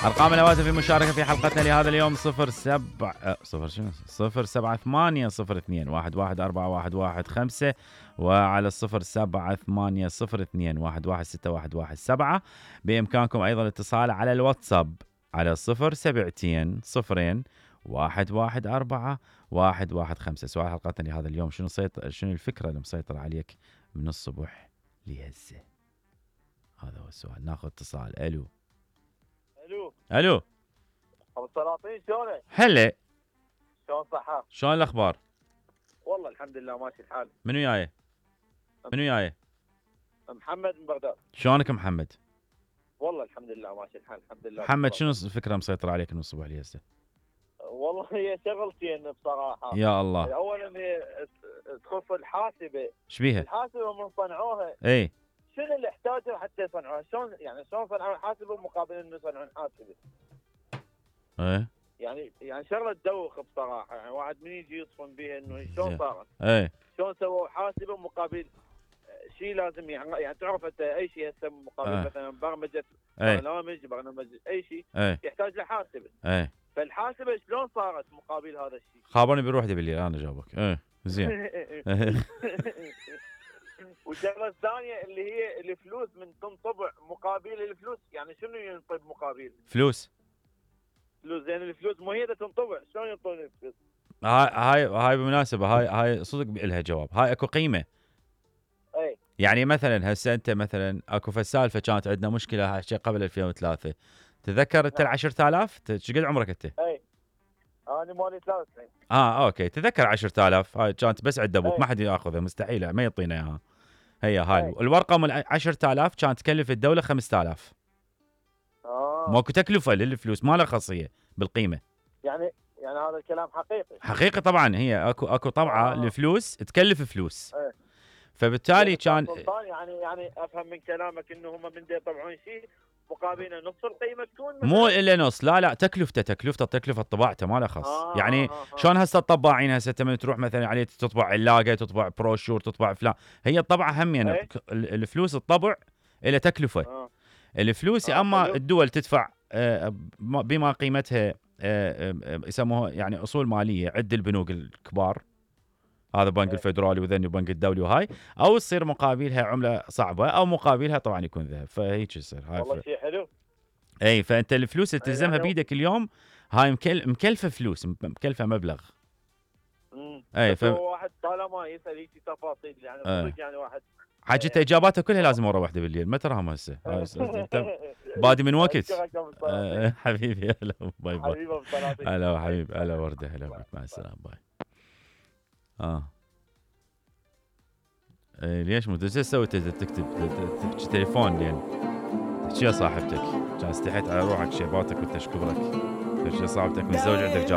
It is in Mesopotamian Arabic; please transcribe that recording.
أرقام الهواتف في مشاركة في حلقتنا لهذا اليوم 07802111415 وعلى 07802116117. بإمكانكم أيضا الاتصال على الواتساب على 072 سؤال حلقتنا لهذا اليوم: شنو الفكرة اللي مسيطرة عليك من الصبح لهسه؟ هذا هو السؤال. ناخذ اتصال. الو ابو السلاطين، شلونك؟ هلا، شلون صحة؟ شلون الاخبار؟ والله الحمد لله ماشي الحال. منو جاي؟ محمد من بغداد. شلونك محمد؟ والله الحمد لله ماشي الحال الحمد لله. محمد، شنو الفكرة مسيطرة عليك من الصبح لهسه؟ والله هي شغلتين بصراحة. يا الله. اولا هي تخص الحاسبة. ايش بيها؟ الحاسبة من صنعوها اي شنو اللي احتاجوا حتى يصنعوها؟ شلون صنعوا الحاسبة مقابل انه يصنعون حاسبة؟ ايه يعني شغله تدوخ بصراحه. يعني واحد من يجي يصفن بها انه شلون صارت؟ ايه شلون سووا حاسبه مقابل شيء لازم يعني تعرف انت اي شيء هسه مقابل مثلا برمجه برنامج اي شيء يحتاج لحاسبه. فالحاسبه شلون صارت مقابل هذا الشيء؟ خابرني بروح بالليل انا جاوبك. زين. والشغله الثانيه اللي هي الفلوس من تنطبع مقابل الفلوس. يعني شنو ينطب مقابل فلوس؟ زين الفلوس مو هي اللي تنطبع، شلون ينطون الفلوس؟ هاي بالمناسبه هاي صدق لها جواب. هاي اكو قيمه. اي يعني مثلا هسه انت مثلا اكو سالفه كانت عندنا مشكله هالشيء قبل 2003. تذكر انت ال 10,000 ايش قد عمرك انت؟ اي انا مالي 93. اوكي. تذكر 10,000 هاي كانت بس عند ابوك، ما حد ياخذها، مستحيل ما يعطينا اياها. هاي الورقه من 10,000 كانت تكلف الدوله 5,000. ماكو تكلفه للفلوس، ما لها خاصيه بالقيمه. يعني هذا الكلام حقيقي طبعا. هي اكو طبعه الفلوس تكلف فلوس. فبالتالي كان يعني افهم من كلامك انه هم من يطبعون شيء مقابل نص القيمه تكون مو الا نص. لا تكلفه طباعته ما لها خاص. يعني شلون هسه الطباعين هسه من تروح مثلا عليه تطبع علاقه، تطبع بروشور، تطبع فلان. هي الطبعه هم يعني الفلوس الطبع الى تكلفه. الفلوس اما الدول تدفع بما قيمتها يسموها يعني اصول ماليه عند البنوك الكبار، هذا بنك الفدرالي وذني وبنك الدولي وهاي، او تصير مقابلها عمله صعبه او مقابلها طبعا يكون ذهب. فهيك يصير. والله شيء حلو. اي فانت الفلوس اللي تلزمها بيدك اليوم هاي مكلفه فلوس، مكلفه مبلغ. اي واحد طالما يسال هيك تفاصيل يعني صدق يعني واحد حاجته اجاباته كلها لازم ورا وحده بالليل. ما تراهم هسه بادي من وقت. حبيبي هلا باي باي. هلا حبيبي هلا ورده هلا بك. مع السلامه باي. ليش مو تسوي تكتب تليفون لين تحكي يا صاحبتك؟ كان استحيت على روحك شيباتك وتشكبرك. تحكي صاحبتك من زوج عندك